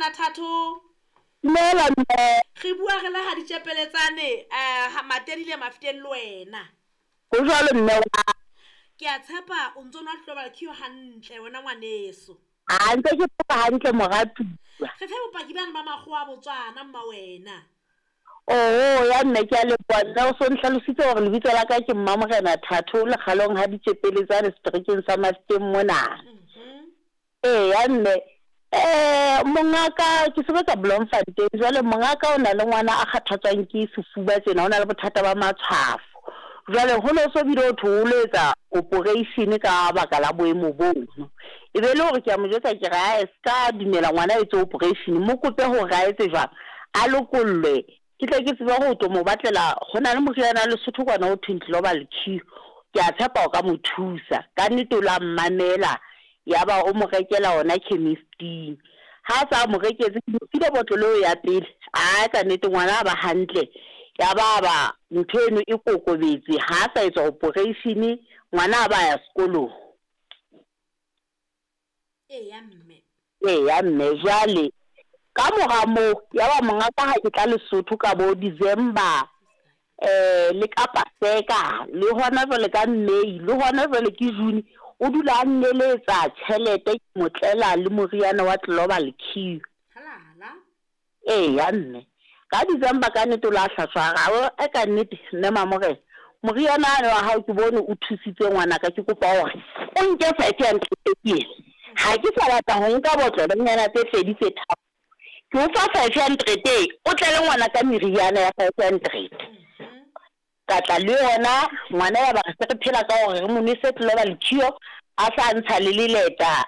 Morena Thato. Dumela mme. Re bua re le ha ditšepeletsane eh Matedile Mafiteng le wena. Ho jwalo mme wa. Ke a tshepa o ntso nwa Global Cure hantle wena ngwaneso. A ntse ke phela hantle moratuwa. Re fe bopaki bane ba makgowa a Botswana mma wena. Oho ya mme ke a leboha mme o so nhlalositse hore lebitso la ka ke Mmamorena Thato lekgalong ha ditšepeletsane seterekeng sa Mafiteng mona. Eya mme mongaka ke sebetsa Bloemfontein jwale mongaka o na le ngwana a kgathatswang ke sefuba tjena o na le bothata ba matshwafo. Jwale ho no so bile ho thwe o lo etsa operation ka baka la boemo bono. E be le hore ke a mo jwetsa ke re ae ska dumela ngwana a etse operation mo kope hore a etse jwang a lokollwe ke tle ke tsebe ho tlo mo batlela ho na le moriana wa Lesotho kwana ho thweng Global Cure ke a tshepa o ka mo thusa. Ka nnete o la mmamela ya ba o mo rekela ona chemist-ing. Ha a sa mo reketse ke mo file botlolo eo ya pele ae ka nnete ngwana a ba hantle ya ba ba ntho eno e kokobetse ha a sa etswa operation ngwana a ba ya sekolong. Eya mme. Eya mme jwale ka mora moo ya ba mongaka ha ke tla Lesotho ka bo December le ka Paseka le hona jwale ka May le hona jwale ke June o dula a nneletsa tjhelete ke mo tlela le moriana wa Global Cure. Halala. Eya mme. Ka December ka nnete o la hlatswa a re ae ka nnete mme Mamorena moriana wane wa hao ke bone o thusitse ngwanaka ke kopa hore o nke 500 ke ena ha ke sa batla ho nka botlolonyana tse pedi tse tharo ke o fa 500 e o tlele ngwana ka meriana ya 500. Ka tla le yona ngwana ya ba re se re phela ka hore re mo nwese Global Cure a sa ntsha le leleta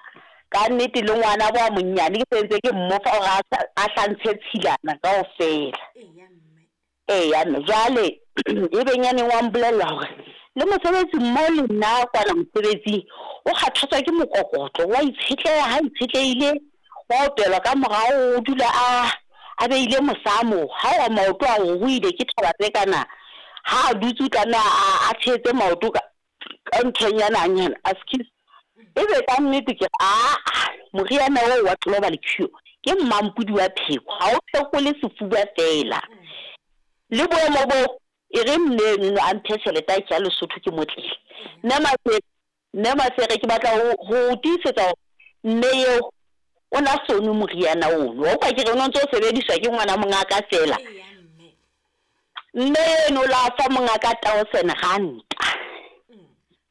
ka nnete le ngwana bo a monnyane ke sentse ke mmofa hore a hlantshe tshilana kaofela. Eya mme. Eya mme jwale e benyaneng wa mbolella hore le mosebetsi mmo le nna kwana mosebetsing o kgathatswa ke mokokotlo wa itshetleha ha itshetlehile wa opelwa ka morao o dula a a beile mosamo ha wa maoto a ruruhile ke thaba tse kana ha a dutse o tlameha a tshehetse maoto ka ka nthonyana nyana askies e be ka nnete ke aa moriana oo wa Global Cure ke mmampudi wa pheko ha o phekole sefuba feela le boemo bo e re mme eno a mphe tjhelete a ke ya Lesotho ke motlele mme Masere mme Masere ke batla ho tiisetsa hore mme eo o na sono moriana ono wa utlwa ke re o no ntso o sebediswa ke ngwana mongaka feela Eya mme. mme eno la fa mongaka 1000 ranta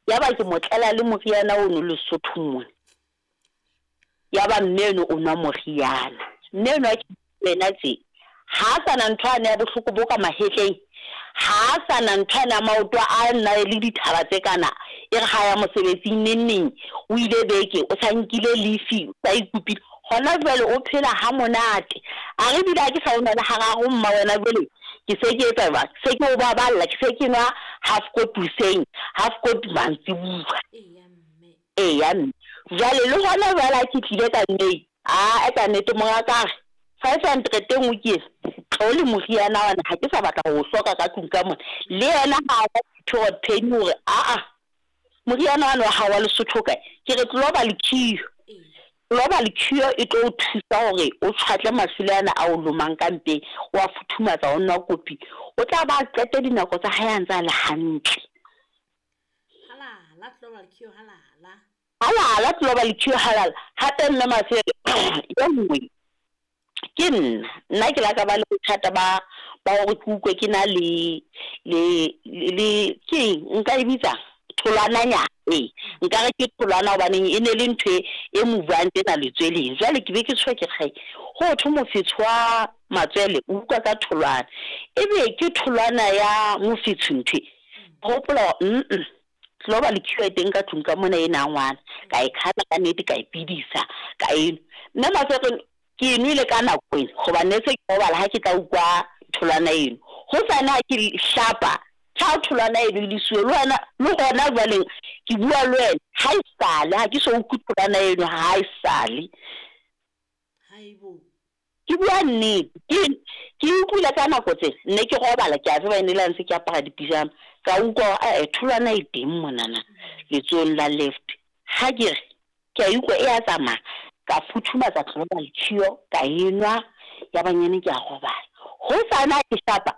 ya ba ke motlela le moriana ono Lesotho mona ya ba mme eno o nwa moriana mme eno a ke wena tje ha a sana ntho ane ya bohloko bo ka mahetleng ha a sana ntho ane ya maoto a nna le dithaba tse kana e re ha ya mosebetsing neng neng o ile beke o sa nkile leave o sa ikupile hona jwale o phela ha monate a re bile ha ke sa o nwa le hararo mma wena jwale ke se ke etsa jwang se ke o baballa ke se ke nwa half kopi hoseng half kopi mantsibuya. Eya mme. Eya mme jwale le hona jwale ha ke tlile ka May a ka nnete mongaka a re 500 e nngwe ke ena tlo le moriana wana ha ke sa batla ho o hloka ka tlung ka mona le yena ha a period pain hore aa moriana wane wa hao wa Lesotho o kae ke re Global Cure. Eya. Global Cure e tlo o thusa hore o tshwatle maswele ana a o lomang ka mpeng wa futhumatsa o nwa kopi o tla ba qete dinako tsa hae a ntse a le hantle. Halala Global Cure halala. Halala Global Cure halala hape mme Masere e nngwe ke nna nna ke la ka ba le bothata ba ba hore ke utlwe ke na le le le ke nka e bitsa tholwananyana ee nka re ke tholwana hobaneng e ne le ntho e movang tjena letsweleng jwale ke be ke tshwe ke re ho thwe mofetshe wa matswele o utlwa ka tholwana ebe ke tholwana ya mofetshe ntho hopola Global Cure e teng ka tlung ka mona ena ngwana ka e kgana ka nnete ka e bidisa ka eno mme Masere ke e nwele ka nako ena hobane ne se ke robala ha ke tla utlwa tholwana eno ho sane ha ke hlapa ha tholwana eno e le siyo le wena le hona jwale ke bua le wena ha e sale ha ke so utlwe tholwana eno ha e sale. Haibo. Ke bua nnete ke utlwile ka nako tse ne ke robala ke a tseba ene le ntse ke apara dipijama ka utlwa hore tholwana e teng monana letsohong la left ha ke re ke a utlwa e a tsamaya. Ka futhumatsa Global Cure ka e nwa, ya ba nyane ke a robala. Hosane ha ke shapa,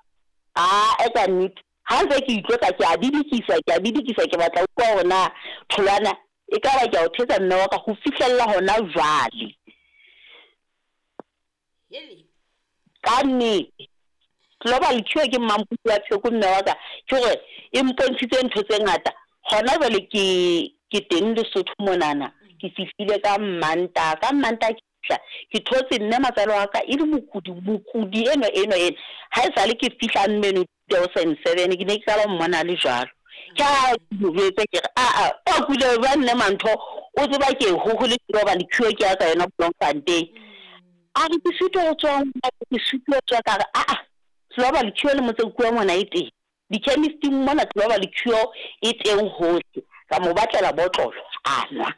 aa ka nnete, ha ntse ke itlotsa ke a bidikisa, ke a bidikisa, ke batla ho utlwa hore na tholwana e ka ba ke a o thetsa mme wa ka ho fihlella hona jwale. Ka nnete. Global Cure ke mmampodi wa pheko mme wa ka, ke hore e mpontshitse ntho tse ngata. Hona jwale ke ke teng Lesotho monana, ke fihlile ka Mmantaha. Ka Mmantaha ke fihla ke thotse mme matswalo wa ka e le mokudi, mokudi enwa enwa enwa. Ha esale ke fihla mmeno 2007 ke ne ke qala ho mmona a le jwalo. Ke ha ke mo jwetse ke re aa o kule jwang mme Mantho o tseba ke hohole Global Cure ke ya ka yona Bloemfontein. A re ke sitwa ho tsoha ngwanaka, ke sitwa ho tsoha. Ka re aa Global Cure le motseng kua mona e teng. Di-chemist-ing mona Global Cure e teng hohle. Ka mo batlela botlolo a nwa.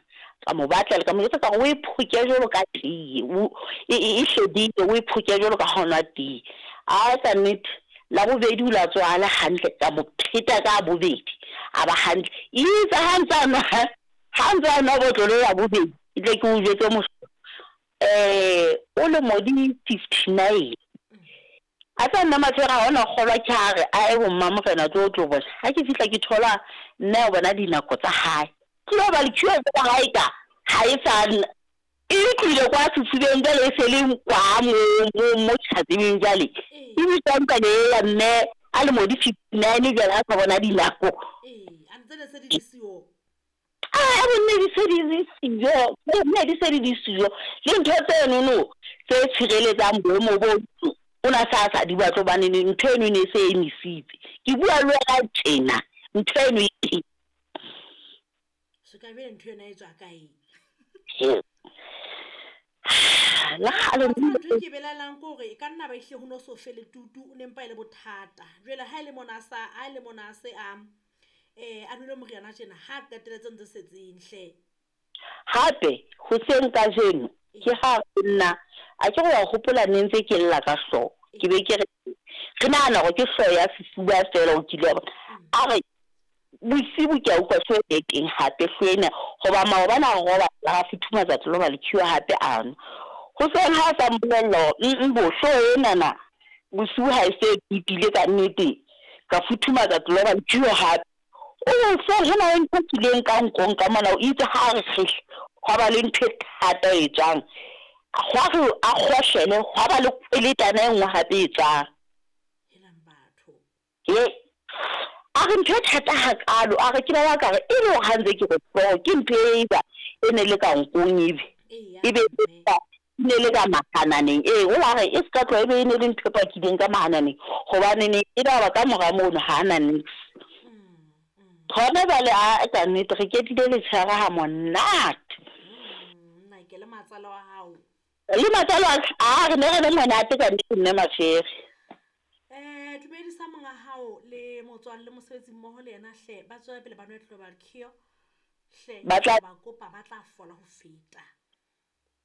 Ka mo batlela, ka mo jwetsa ka re o e phoke jwalo ka tee, o e e e hlwedile, o e phoke jwalo ka ha o nwa tee. A ka nnete Labobedi o la tsoha a le hantle, ka mo pheta ka bobedi a ba hantle. Eitse ha ntse a nwa, ha ntse a nwa botlolo ya bobedi, ke tle ke o jwetse mohlolo, o lemo di 59. A tsa nna Mafera ha ona kgolwa ke ha re a ye ho Mmamorena tlo tlo bona. Ha ke fihla ke thola nna ya bona dinako tsa hae. Ke lo ba le queue tsa hae ka ha e sa e tlohile kwa sefubeng jwale e se le kwa mo mo mo ke sa tsebeng jwale. E bitswa ntlwana e ya mme a lemo di 59 jwale a sa bona dinako. Ee, a ntse ne se di le siyo. A bonne di se di le siyo, ne di se di le siyo. Le ntho tsenono tse tshireletsang boemo bo o na sa sa di batle hobane ntho eno e ne e se emisitse. Ke bua le wena tjena, ntho eno e teng. So ka bjale ntho yona e tswa kae? Le kgale Wa tseba ntho e ke belaelang ke hore e ka nna ba ehlile ho no so fele tutu, o ne mpa e le bothata. Jwale ha e le mona a sa, ha e le mona a se a a nwele moriana tjena, ha a qetelletse ntse setseng hle. Hape hoseng kajeno ke ha ho nna, a ke re wa hopola ne ntse ke lla ka hlooho, ke be ke re re nahana hore ke hlooho ya sefuba feela o kile wa bona. A re bosibu ke a utlwa hlooho e teng hape hlooho ena, hoba maobane a robala ra futhumatsa Global Cure hape a nwa. Hoseng ha a sa mpolella hore bo hlooho enana bosiu ha e se e tutile ka nnete, ka futhumatsa Global Cure hape. O hoseng ho na le ntho e tswileng ka nkong ka mona, o itse ha re kgehle hwa ba le ntho e thata e tswang, hwa re a kgohlele hwa ba le kweletana e nngwe hape e tswang. Helang batho. He, a re ntho e thata hakalo, a re ke ba ka re e le hore ha ntse ke re hlooho ke ntho e ba e ne le ka nkong ebe Eya e be mme. e ne le ka mahananeng. Ee, o la re e se ka tloha e be e ne le ntho e pakileng ka mahananeng, hobane ne e ba ka mora mono ha na niks. Hona jwale a ka nnete re ketile letshehare ha monate. Nna ke le matsala wa hao. Le matsala wa ka, a re ne re le monate ka nnete mme Mafere. Dumedisa monga hao le motswalle mosebetsi mmoho le yena hle, ba tswele pele ba nwe Global Cure hle, Ba tla ba kopa ba tla fola ho feta.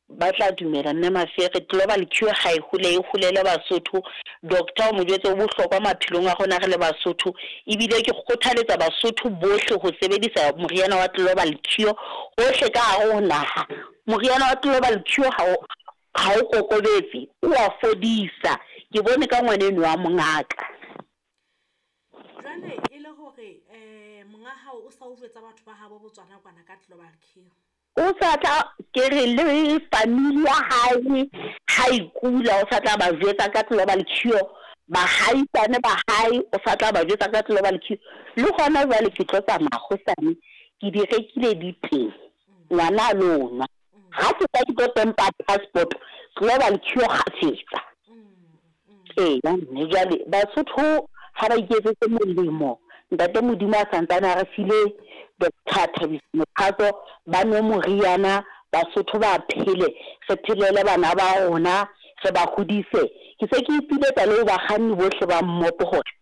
Ba tla dumela mme Mafere, Global Cure ha e hole e holele Basotho. Doctor o mo jwetse o bohlokwa maphelong a rona re le Basotho, ebile ke kgothaletsa Basotho bohle ho sebedisa moriana wa Global Cure hohle ka hare ho naha. Moriana wa Global Cure ha o ha o kokobetse, o a fodisa. Ke bone ka ngwaneno wa mongaka. Jwale e le hore monga hao o sa o jwetsa batho ba habo Botswana kwana ka Global Cure. O sa tla ke re le family ya hae ha e kula, o sa tla ba jwetsa ka Global Cure, bahaisane ba hae o sa tla ba jwetsa ka Global Cure. Le hona jwale ke tlo tsamaya hosane, ke di rekile di teng, ngwana a lo nwa. Ha ke tla ke tlo tempa passport, Global Cure kgafetsa. Ee, mme jwale Basotho ha ba iketsetse molemo, Ntate Modimo a santsane a re file Doctor Thabiso Mophatlo, ba nwe moriana, Basotho ba phele, re phelele bana ba rona, re ba hodise. Ke se ke ipiletsa le ho bakganni bohle ba mmopo hore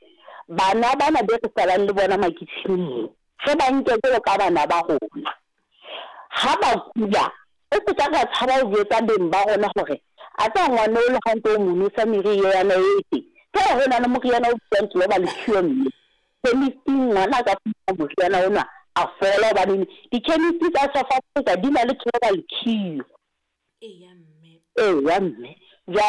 bana bana be re salang le bona makitjheneng moo, re ba nke jwalo ka bana ba rona. Ha ba kula, re se ka ra tshaba ho jwetsa beng ba rona hore a tseba ngwana o le ha ntse o mo nwesa meriana e teng. Feela ho na le moriana o bitswang Global Cure mme chemist-ing ngwana a ka fumana moriana ona a fola, hobane di-chemist tsa South Africa di na le Global Cure. Eya mme. Eya mme. Jwale.